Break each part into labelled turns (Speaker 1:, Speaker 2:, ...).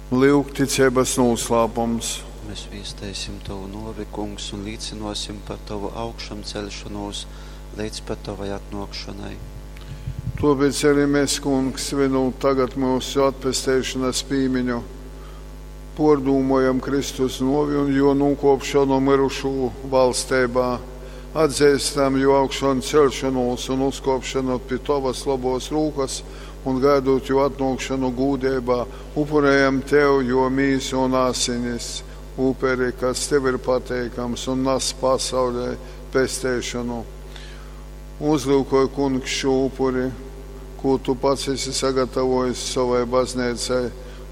Speaker 1: Lyugticeibas nūslāpums.
Speaker 2: Mēs viesteisim tovu nōvi, Kungs, un līcynōsim par tovu augšamceļšonūs leidz pat tovai atnōkšonai.
Speaker 1: Tōpēc arī mēs, Kungs, svinūt tagad myusu atpesteišonas pīmiņu, pōrdūmojam Kristus nōvi un jō nūkōpšonu myrušū valsteibā, atzeistam jō augšanceļšonūs un uzkōpšonu pi tovas lobōs rūkas un gaidot jō atnōkšonu gūdeibā, upurējam tev jō mīsu un asinis, uperi, kas tev ir pateikams un nas pasaulē pesteišonu. Uzlyukoj, Kungs, šū upuri, kū tu pats esi sagatavojis sovai bazneicai,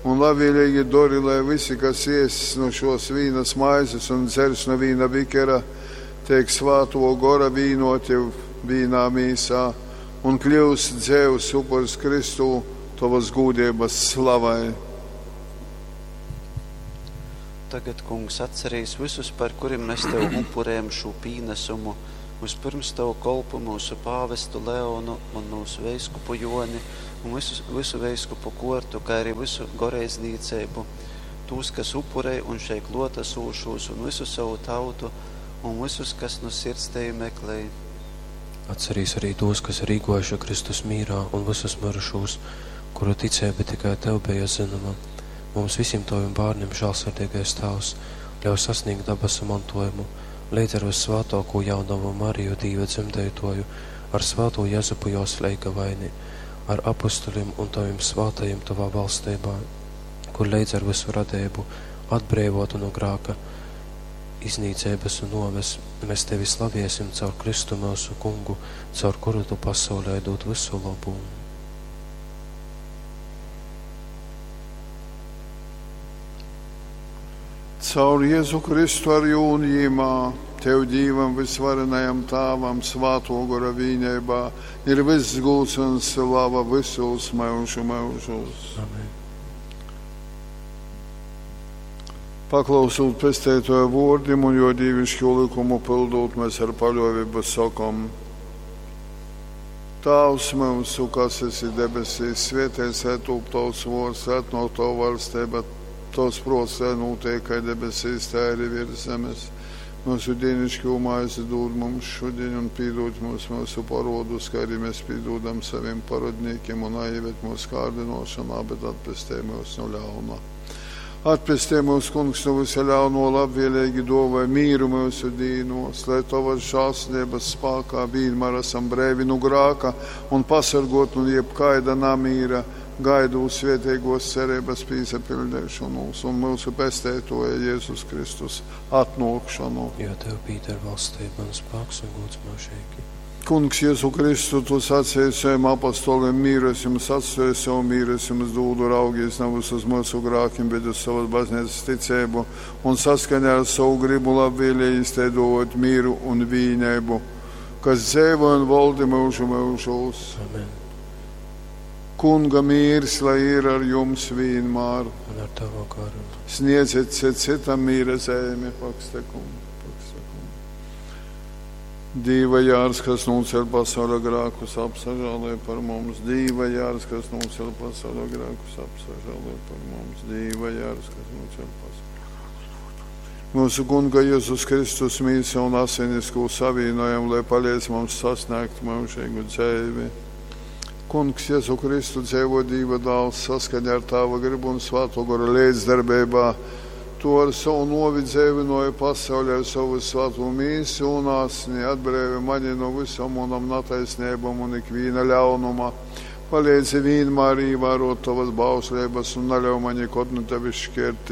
Speaker 1: un labvēlīgi dori, lai visi, kas ēss nu šos vīnas maizes un dzers no vīna bikera, teik svāto gora vīnoti vīnā mīsā un kļūst dzēvs upurs Kristū tovas gūdības slavai.
Speaker 2: Tagad, Kungs, atcerīs visus, par kurim mēs tev upurējam šo pīnesumu, vispirms tavu kolpu mūsu pāvestu Leonu un mūsu veiskupu Joni un visu veiskupu kortu, kā arī visu goreidznīceibu, tūs, kas upurē un šeit klotasūšos, un visu savu tautu, un visus, kas no sirds tevi meklē.
Speaker 3: Atcerīs arī tos, kas ir īgojuši Kristus mīrā, un visus mirušos, kuru ticība tikai tev bija zināma. Mums visiem taviem bērniem, žēlsirdīgais Tēvs, ļauj sasniegt dabasu mantojumu, līdz ar vissvētāko jaunavu Mariju Dīva dzemdētoju, ar svēto Jezupu jos leigavaini, ar apustuļiem un taviem svētajiem tavā valstībā, kur līdz ar visu radību atbrīvotu no grāka, iznīcības un noves, mēs tevi slaviesim caur Kristu mūsu kungu, caur kuru tu pasaulē dod visu labu.
Speaker 1: Caur Jēzu Kristu ar jū un jīmā, Tev Dīvam visvarenajam Tāvam, svāto gora vīneibā, ir viss gūts un slava visos mūžu mūžos.
Speaker 3: Amen.
Speaker 1: Paklausot pestētoja vōrdim un jo dīvišķo likumu pildot, mēs ar paļāvību sakom: Tāvs mūsu, kas esi debesīs, svētīts lai tūp tavs vārds, lai atnāk tava valstība, tavs prāts, lai notiek kā debesīs, tā arī virs zemes. Mūsu dienišķo maizi dod mums šodien un piedod mums mūsu parodus, kā arī mēs piedodam saviem parodniekiem un neieved mūsu kārdinošanā, bet atpestē mūs no ļauna. Atpestē mūs, Kungs, no visa ļauno labvēlīgi dāvāj mīru mūsu dīnos, lai tavas žēlsirdības spēkā vienmēr esam brēvi no grāka un pasargot no jebkaida namīra, gaidot svētīgos cerības pīsapildīšanos un mūsu pestētoja Jēzus Kristus atnākšanu.
Speaker 3: Jo tev pīder valstība un spēks un gods mūžīgi.
Speaker 1: Kungs, Jēzu Kristu, tu sacīji saviem apostoliem, mīru es jums atstāju, savu mīru es jums dodu, raugies nevis uz mūsu grākiem, bet uz savas baznīcas ticību un saskaņā ar savu gribu labvēlīgi izteidot mīru un vīnību, kas dzīvo un valdi mūžu mūžos.
Speaker 3: Amen.
Speaker 1: Kunga mīrs, lai ir ar jums vienmēr.
Speaker 3: Un ar tavu garu.
Speaker 1: Sniedziet citam mīra zemi, pakstekum, pakstekum. Dīva jārs, kas nocēl pasaules grēkus, apsažālē par mums. Dīva jārs, kas nocēl pasaules grēkus, apsažālē par mums. Dīva jārs, kas nocēl pasaules Mūsu Kunga Jēzus Kristus mīsa un asinis, ko savienojam, lai palīdz mums sasniegt mūžīgu dzīvi. Kungs Jēzu Kristu dzīvo Dieva dēls saskaņā ar Tāva gribu un Svēto gora līdzdarbībā. Tu ar savu novi dzīvinoji pasauli ar savu svēto mīsu un asni, atbrīvi mani no visam unam netaisnībām un ikvīna ļaunuma. Palīdzi vienmēr ievērot tavas bauslības un neļauj man nekad no tevis šķirties.